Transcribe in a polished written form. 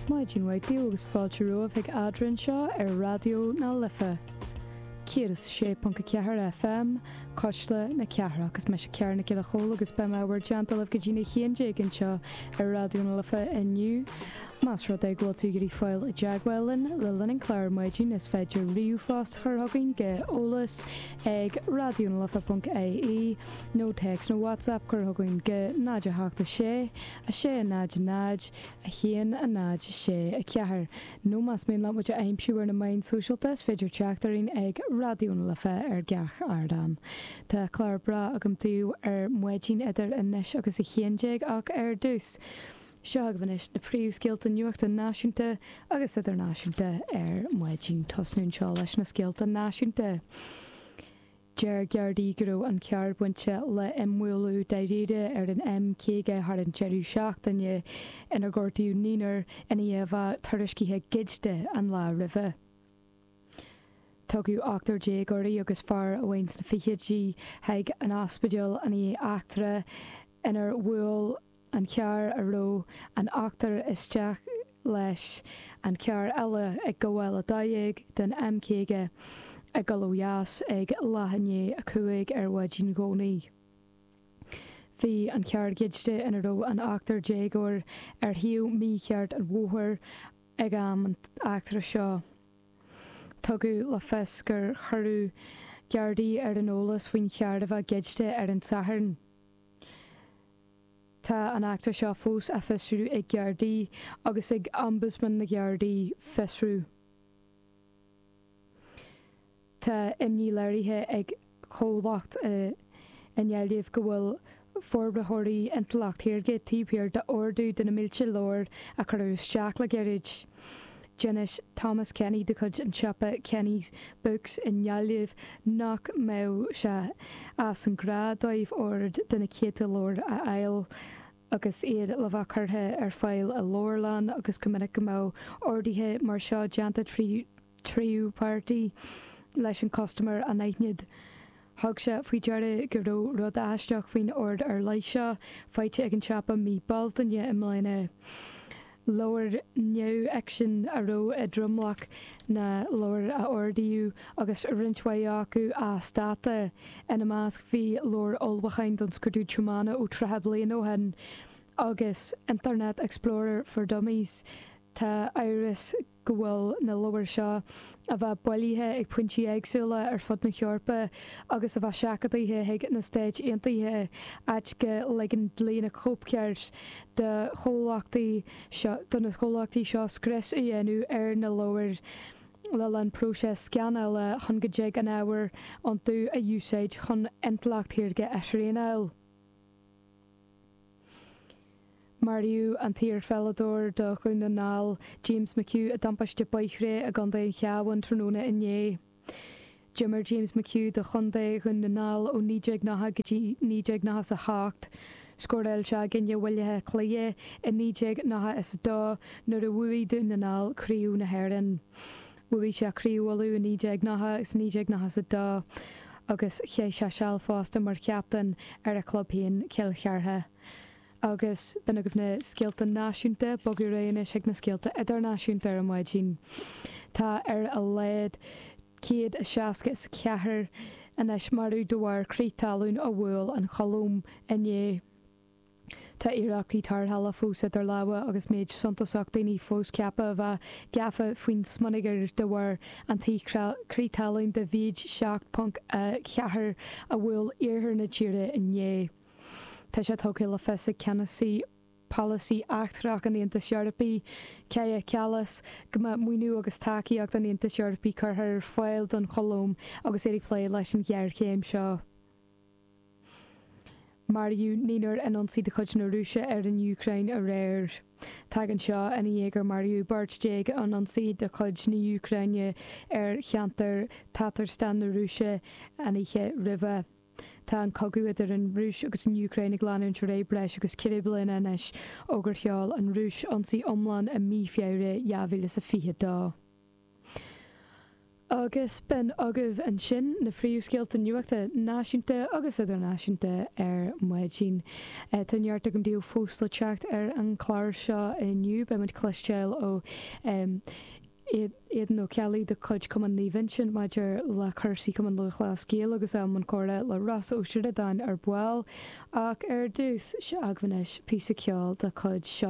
Maidin mhaith daoibh agus fáilte romhaibh chuig Eadrainn anseo ar Raidió na Life 106.4 FM, Cuisle na Cathrach. Is mise Ciara Nic Giolla Chóill agus beidh mé i bhur dteannta libh go dtí'n 11 anseo ar Raidió na Life inniu. Más rud é go bhfuil tú ag iarraidh fáil i dteagmháil linn le linn an chláir ar maidin is féidir ríomhphost a chur chugainn go eolas ag raidionalife.ie nó téacs nó WhatsApp cur chugainn go 0 8 6 6 0 0 1 0 6 4 nó más mian leat muid a aimsiú ar na meáin sóisialta is féidir teacht orainn ag Raidió na Life ar gach ardán. Tá clár breá agam daoibh ar maidin idir anois agus 11 ach ar dtús, Seo agaibh anois na príomhscéalta nuachta náisiúnta agus idirnáisiúnta ar maidin. Tosnú anseo leis na scéalta náisiúnta. Deir Gardaí go raibh an carr bainte le imbhualadh dáiríre ar an M50 thar an deireadh seachtaine inar gortaíodh naonúr ina dhiaidh a bheith tuairiscithe goidte an lá roimhe. Tugadh ochtar déagóirí agus fear amháin sna fichidí chuig an ospidéal i ndiaidh eachtra inar bhuail an carr a raibh an ochtar isteach leis an carr eile ag gabháil 12 den M50 ag dul ó dheas ag leath i ndiaidh 5 ar mhaidin Dhomhnaigh. Bhí an carr goidte ina raibh an ochtar déagóir ar thaobh mícheart an bhóthair ag am an eachtra seo. Tugadh le fios gur cuireadh Gardaí ar an eolas faoin charr a bheith goidte ar an Satharn. Tá an eachtra seo fós á fiosrú ag Gardaí agus ag Ombudsman na Gardaí. Fiosrú. Tá imní léirithe ag comhlacht i nGaillimh go bhfuil forbraitheoirí intleacht shaorga taobh thiar d'ordú de na mílte leabhar a cuireadh isteach le gairid. D'inis Thomas Kenny de chuid an tsiopa Kenny's Books i nGaillimh nach mbeadh sé as an ghnáth dóibh ord de na céadta leabhar a fháil agus iad le bheith curtha ar fáil i leabharlann agus go minic go mbeadh orduithe mar seo déanta trí tríú páirtí leis an custaiméir anaithnid. Thug sé faoi deara go raibh rud aisteach faoin ord ar leith seo, faighte ag an siopa mí Bealtaine i mbliana. Leabhair neamhfhicsin a raibh i dtromlach na leabhar a ordaíodh agus roinnt mhaith acu as dáta. Ina measc bhí leabhar ullmhúcháin don scrúdú tiomána ó 30 bliain ó shin agus Internet Explorer for Dummies. Tá amhras go bhfuil na leabhair seo a bheith bailithe ag pointí éagsúla ar fud na hEorpa agus a bheith seachadaithe chuig na Stáit Aontaithe, áit go ligeann dlí na cóipchirt do chomhlachtaí seo do na comhlachtaí seo scrios a dhéanamh ar na leabhair le linn próiseas scannála chun go dtig an ábhar iontu a úsáid chun intleacht shaorga a thraenáil. Maraíodh an t-iarpheileadóir do Dhún na nGall, James McHugh i dtimpiste bóithre i gContae an Chabháin tráthnóna inné. D'imir James McHugh do chontae Dhún na nGall ó 1990 go dtí 1998. Scóráil sé i gcoinne Bhaile Átha Cliath i 1992 nuair a bhuaigh Dún na nGall Craobh na hÉireann. Bhuaigh sé Craobh Uladh i 1990 agus 1992 agus chaith sé seal fosta mar chaptaen ar a chlub féin, Cill Chartha. Agus b'in agaibh na scéalta náisiúnta, bogadh ar aghaidh anois chuig na scéalta idirnáisiúnta ar maidin. Tá ar a laghad 164 anois marbh de bharr crith talún a bhuail an Cholóim inné. Tá iarrachtaí tarrthála fós idir lámha agus méid suntasach daoine fós ceaptha a bheith gafa faoin smionagar de bharr an crith talún de mhéid 7.4 a bhuail iarthar na tíre inné. Tá sé tugtha le fios ag ceannasaí polasaí eachtrach an Aontais Eorpaigh, Kaja Kallas, go mbeidh maoiniú agus tacaíocht an Aontais Eorpaigh curtha ar fáil don Cholóim agus iad ag plé leis an ghéarchéim seo. Maraíodh naonúr in ionsaí de chuid na Rúise ar an Úcráin aréir. Tagann seo ina dhiaidh gur maraíodh beirt déag in ionsaí de chuid na hÚcráine ar cheantar Tatarstan na Rúise an oíche roimhe. Tá an cogadh idir an Rúis agus an Úcráin ag leanúint ar aghaidh breis agus ceithre bliana anois ó gur sheol an Rúis ionsaí iomlán i mí Feabhra 2022. Agus b'in agaibh ansin na príomhscéalta nuachta náisiúnta agus idirnáisiúnta ar maidin. Tá neart agam daoibh fós le teacht ar an chlár seo inniu. Beidh muid cloisteáil ó Aodhán Ó Ceallaigh de chuid Chumann Naomh Uinseann maidir le cúrsaí Chumann Lúthchleas Gael agus i mbun comhrá le Rossa Ó Sioradáin ar ball. Ach ar dtús, seo agaibh anois píosa ceoil de chuid Seosamh.